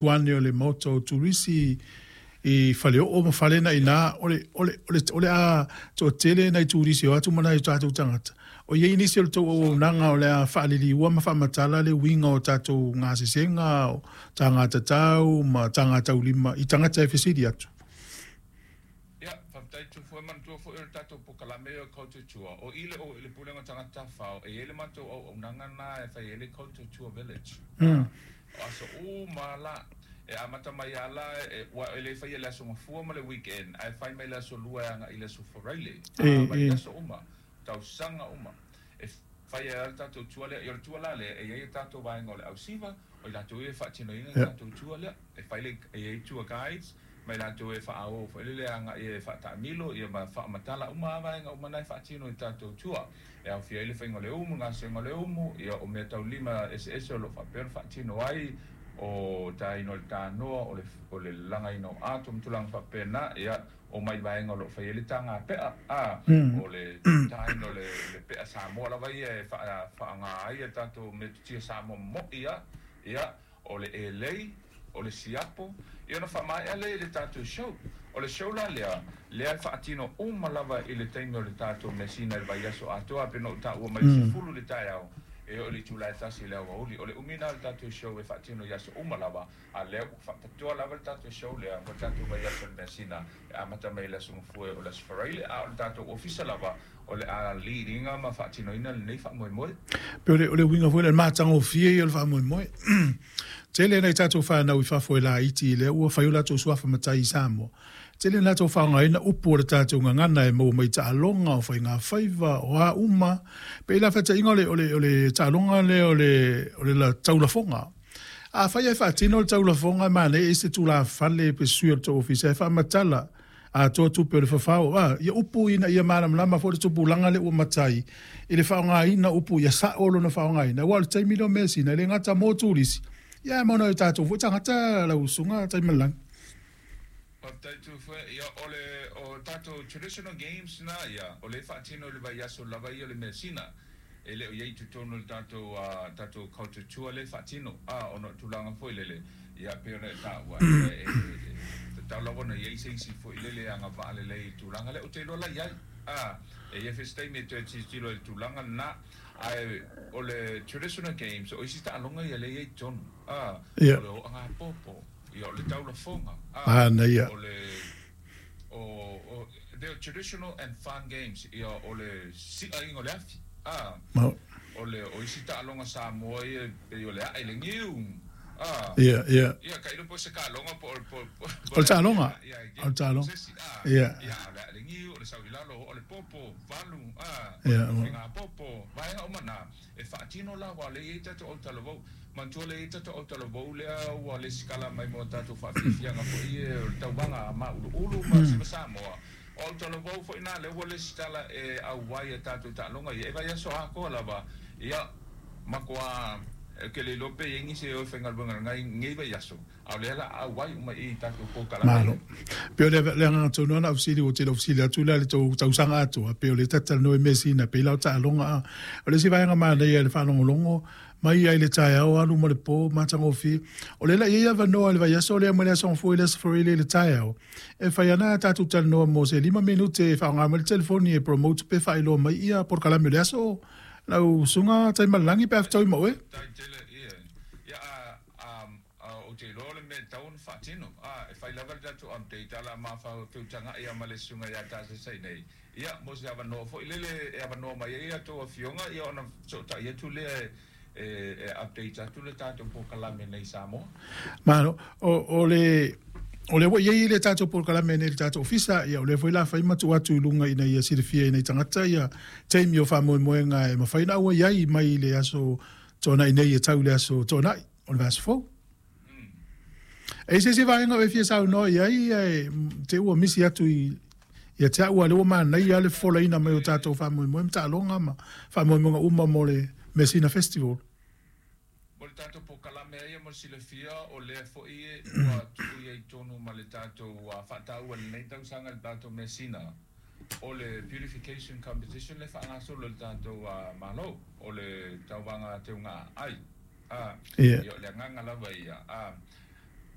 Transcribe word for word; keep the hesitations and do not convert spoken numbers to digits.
Ane o le maota o turisi i Faleoo ma fale na ina o le o le o le o le a toatele nai turisi o atu ma nai o tatou tagata. O i ai nisi o le tou auaunaga o le a faaliliua ma faamatala le uiga o tatou gasesega o tagatatau ma tagataulima i tagata e fesili atu. Ia, faafetai Tufue, manatua foi o le tatou polokalame o Culture Tour. O i le o i le Pulega o Tagata Tafafao, e i ai le matou auaunaga na e fai ai le Culture Tour Village. Mm. O aso uma la, e amata mai lava la, e, ua e le faia i le aso Gafua ma le weekend, ae fai mai le aso Lua e agai i le aso Faraile, E, a e. vaiaso uma, tausaga uma. E fai ai lava le tatou tour lea. Ia, o le tour la lea, e i ai a tatou vaega o le ausiva, o i latou ia e faatinoina le Ia. tatou tour lea. E fai le, e i ai tour guides, ma i latou e faaoo foi lele agai e faataamilo, ia ma faamatala uma lava vaega uma na e faatino i tatou tour. E aofia ai le faiga o le umu, le gasega o le umu, ia o meataulima eseese o lo o faapea ona faatino ai, o taina o le tanoa, o le, o le lagaina o ato ma tulaga faapena, ia, o mai vaega o lo o fai ai le taga pea, a, Mm. o le taina o le, le pea Samoa lava ia e faa, faaaoga ai a tatou metotia Samoa mo'i a, ia, o le elei, o le siapo, ia ona faamaea lea i le tatou show. O le show la lea, lea e faatino uma lava i le taimi o le tatou measina i le vaiaso atoa, pe na ou taua mai le sefulu le taeao, e oo i le itula e tasi i le aoauli. O le umi lena o le tatou show e faatino i aso uma lava, a lea ua faapitoa lava le tatou show lea mo le tatou vaiaso o le measina e amata mai i le aso Gafua o le aso Faraile, a o le tatou ofisa lava o le a lead ina ma faatinoina lenei faamoemoe. Pe o le, o le uiga foi lea, le matagofie ia o le faamoemoe. Tele nai tatou fanau i fafo e laiti lea ua fai o latou suafa matai i Samoa. Tele na latou faaaogaina upu o le tatou gagana e maua mai taaloga o faigafaiva o a uma. Pe i la faataiga o le, o le, o le taaloga lea o le, o le la, taulafoga. Afai e faatino le taulafoga e manaia i se tulafale pe sui o le tou ofisa e faamatala atoa tupe o le fafao. Ah, ia upu ina ia malamalama foi le tupulaga lea ua matai i le faaaogaina upu ia sao lona faaaogaina. Aua o le taimi lea o measina e le gata mo turisi. Ia ma ona o tatou foi tagata lau usuga Taimalelagi. Faafetai Tufue, ia o le o tatou traditional games na ia, o le faatino i le vaiaso lava ia o le measina. E le o i ai i totonu o le tatou uh, tatou culture tour le faatino, a ona o tulaga foi lele, ia pei ona e taua, ia e, e, e tatau lava ona i ai se isi foi lele agavaa lelei i tulaga lea. Ou te iloa la i ai, a e i ai foi se taimi e toe tilotilo i le tulaga lena, ae o le traditional games, o isi taaloga ia lea e i ai i totonu, a Ia. o le oogāpopo, ia o le taulafoga, a Manaia. o le o, o the traditional and fun games, ia o le siaina o le afi, a Ma, o le o isi taaloga Samoa ia pei o le ae le niu, a ia, ia. ia ka iloa po o se taaloga po o po po O le taaloga. ia O le taaloga. se isi a Ia. ia o le ae le niu, o le sau i lalo, o le popo valu, a o Ia. le faigāpopo, vaega uma na e faatino lava le i ai tatou autalavou. Manatua le i ai tatou autalavou lea ua lesitala mai mo tatou faafiafiaga foi e o le tauvaga mauluulu ma siva Samoa. O autalavou foi na lea ua lesitala e auai e tatou taaloga ia e vaiaso atoa lava, ia matua ke le iloa pe i ai nisi e o e faigaluega lenei vaiaso, a o lea la auai uma i tatou polokalame. Malo. Pe o le le agaga tonu lava na fesili ua tele o fesili atu lea i le tou tausaga atoa, pe o le talatalanoa i measina pei la o taaloga a. O le isi vaega manaia i le faalogologo mai ai le taeao alu ma le po matagofie. O lea la e i ai avanoa i le vaiaso lea mai le aso Gafua i le aso Faraile i le taeao. E fai ana tatou talanoa mo se lima minute e faaaoga mai le telefoni e promote pe faailoa mai ia polokalame o le aso lau usuga Taimalelagi pe a fetaui ma oe. Tai tele ia ia a a a ou te iloa le mea e tatau ona faatino, a e fai lava le tatou update ala mafau feutagai ia ma le susuga ia Tasesa nei, ia mo se avanoa foi lele e avanoa mai ai a outou afioga, ia ona fesootai atu lea e e e update atu le tatou polokalame nei i Samoa. Malo. O, o le o lea ua i ai le tatou polokalame nei i le tatou ofisa, ia o lea foi la fai ma tuu atu i luga ina ia silafia e nai tagata ia taimi o faamoemoega e mafai ona auai ai mai le aso Toonai nei e tau i le aso Toonai o le vaiaso fou. E i se isi vaega o e fia saunoa i ai, ae te ua misi atu i ia te au, a o lea ua manaia le fofolaina mai o tatou faamoemoe ma taaloga ma faamoemoega uma mo le Measina Festival. Mo le tatou polokalame ia mo le silafia, o lea foi ua tuu i ai totonu ma le tatou faataua i lenei tausaga i le tatou measina, o le beautification competition le faagasolo e le tatou Malo, o le tauvaga teuga ai, a Ia. ia o le agaga lava ia, a